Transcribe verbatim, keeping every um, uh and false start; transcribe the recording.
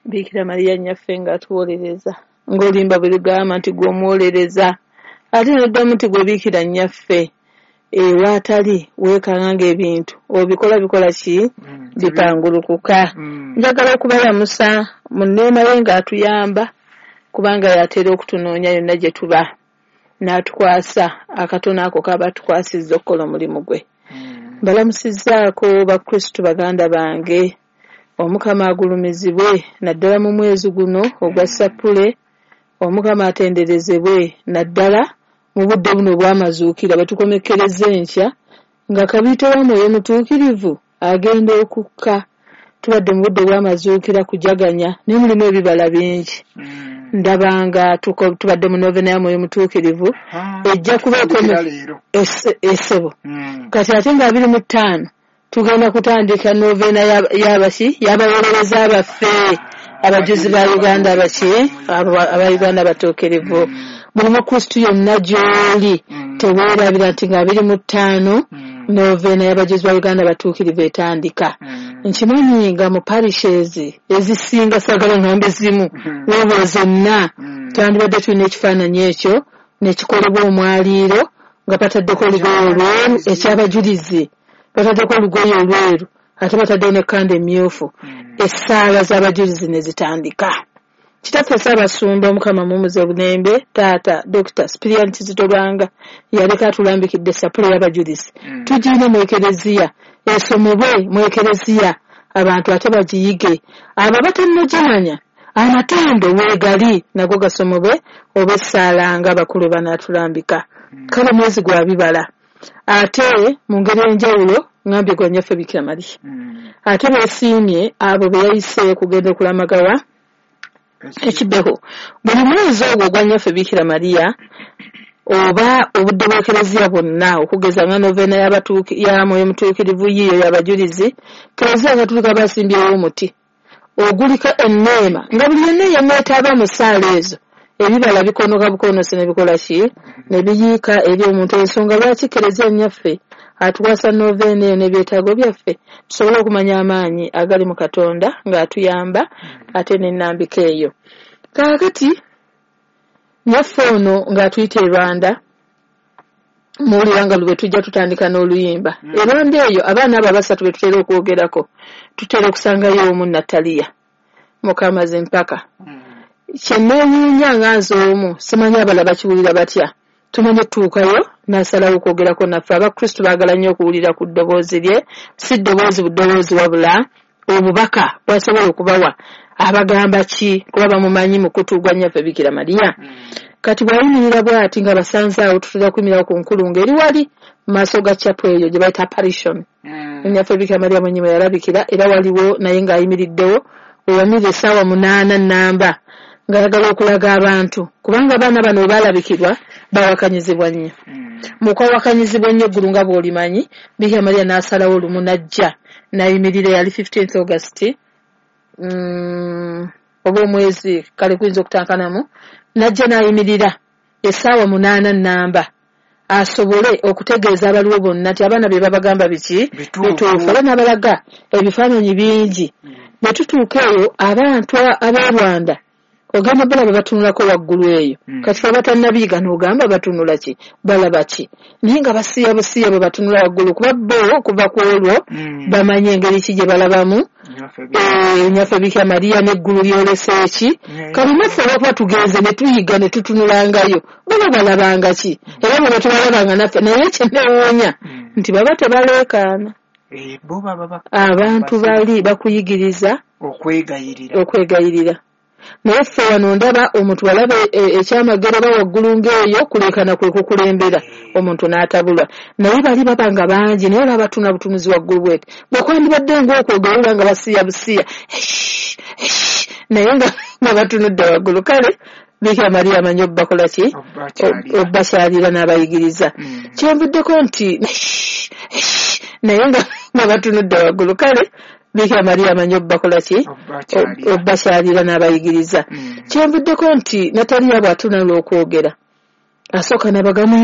Biikira Mariya nnyaffe ng'atuwolereza, ng'oluyimba bwe lugamba nti gwe omuwolereza, ate n'oddamu nti gwe Biikira nnyaffe. Ewaatali weekanga ng'ebintu obikola bikola ki? Bipangulukuka. Njagala okubalamusa mu nneema ye ng'atuyamba, kubanga y'atera okutunoonya yonna gye tuba, n'atukwasa akatono ako k'aba atukwasizza okukola omulimu gwe. Mbalamusizzaako Bakristu baganda bange. Omukama agulumizibwe naddala mu mwezi guno ogwa Ssappule. Omukama atenderezebwe naddala mu budde buno obw'amazuukira bwe tukomekkereza enkya nga kabiite wa Mwoyo Mutuukirivu agenda okukka. Tubadde mu budde bw'amazuukira kujaganya naye mulimu ebibala bingi. Ndaba nga tubadde mu novena ya Mwoyo Mutuukirivu ejja kubaako essebo. Kati ate nga abiri mu ttaano tugenda kutandika novena y'abaki y'abawolereza baffe abajuzi ba Uganda abaki aba Uganda abatuukirivu. Buli Mukristu yonna gy'oli teweerabira nti nga abiri mu ttaano novena y'abajuzi ba Uganda abatuukirivu etandika. Nkimanyi nga mu parishes ezisinga saagala ngambe zimu wabula zonna twandibadde tulina ekifaananyi ekyo nekikolebwa omwaliiro nga bataddeko olugoye olweru ekyabajulizi, bataddeko olugoye olweru ate bataddewo n'ekkanda emmyufu, essaala z'abajulizi ne zitandika. Kitaffe Ssaabasumba Omukama mumuze bulembe, taata Dokita Sipiriyani Kizito Lwanga yaleka atulambikidde Ssappule y'abajulizi. Tugirina mu Ekereziya, esomebwe mu Ekereziya, abantu ate bagiyige. Abo abatannagimanya amatendo weegali nago gasomebwe oba essaala nga abakulu banaatulambika. Kale mwezi gwa bibala. Ate mu ngeri enjawulo ngambye gwa nnyaffe Biikira Mariya. Ate beesiimye abo be yayise okugenda okulamagawa ekibeho. Buli mwezi ogwo ogwa nnyaffe Biikira Mariya oba obudde bw'Ekereziya bwonna okugeza nga novena ya Mwoyo Mutuukirivu yiiyo y'abajulizi, Kereziya Katolika basimbyewo omuti oguliko enneema nga buli yenna eyamwetaaba mu ssaala ezo ebibala bikonoka bukonosi ne bikola ki? Ne biyiika eri omuntu. Ensonga lwaki Kereziya nnyaffe atukwasa novena eyo n'ebyetaago byaffe tusobole okumanya amaanyi agali mu Katonda ng'atuyamba ate n'ennambika eyo. Kaakati nnyaffe ono ng'atuyita e Rwanda, muwulira nga lwe tujja tutandika n'oluyimba. E Rwanda eyo abaana abo abasatu be tutera okwogerako tutera okusangayo omu Nataliya Mukamazimpaka. Kye neewuunya nga nze omu simanyi abalala bakiwulira batya. Tumanye tutuukayo n'asalawo okwogerako naffe. Abakristu baagala nnyo okuwulira ku ddoboozi lye, si ddoboozi buddoboozi wabula obubaka bw'asobola okubawa. Abagamba ki? Kuba bamumanyi mukutu gwa nnyaffe Biikira Mariya. Kati bw'ayimirira bw'ati nga basanze awo tutera kuyimirira ku nkulungo eri wali mu maaso ga chapel eyo gye bayita apparition. Nnyaffe Biikira Mariya mwennyini we yalabikira era waliwo naye ng'ayimiriddewo weyamirira essaawa munaana nnamba ng'ayagala okulaga abantu kubanga abaana bano bwe baalabikirwa bawakanyizibwa nnyo. Mu kwawakanyizibwa ennyo eggulu nga bw'olimanyi, Biikira Mariya n'asalawo lumu n'ajja n'ayimirira yali fifteenth August mm, oba omwezi kale kuyinza okutankanamu, n'ajja n'ayimirira essaawa munaana nnamba asobole okutegeeza abaliwo bonna nti abaana be babagamba biki bituufu, era n'abalaga ebifaananyi bingi. Ne tutuuka eyo abantu ab'e Rwanda ogamba balaba batunulako waggulu eyo. Kati fe abatannabiyiga n'ogamba batunula ki, balaba ki, naye nga basiiya busiiya bwe batunula waggulu kuba bo okuva ku olwo bamanye engeri ki gye balabamu nnyaffe Biikira Mariya n'eggulu lyolese ki. Kale naffe olwokuba tugenze ne tuyiga ne tutunulangayo baba balabanga ki, era bwe batubalabanga naffe. Naye kye neewuunya nti baba tebaleekaana, abantu bali bakuyigiriza okwegayirira. Naye ffe wano ndaba omuntu walaba ekyamagero oba waggulu ng'eyo kuleekaana kwe kukulembera omuntu n'atabulwa. Naye bali baba nga bangi naye olaba batuna butunuzi waggulu bweti bwe kwandibadde ng'okwogera nga basiiya busiiya naye nga batunudde waggulu. Kale Biikira Mariya amanyi obbakola ki, obbakyalira n'abayigiriza. Kyenvuddeko nti naye nga batunudde waggulu. Kale Biikira Mariya amanyi obbakola ki, obbakyalira n'abayigiriza. Kyenvuddeko nti Nataliya bw'atunula okwogera asooka n'abagamba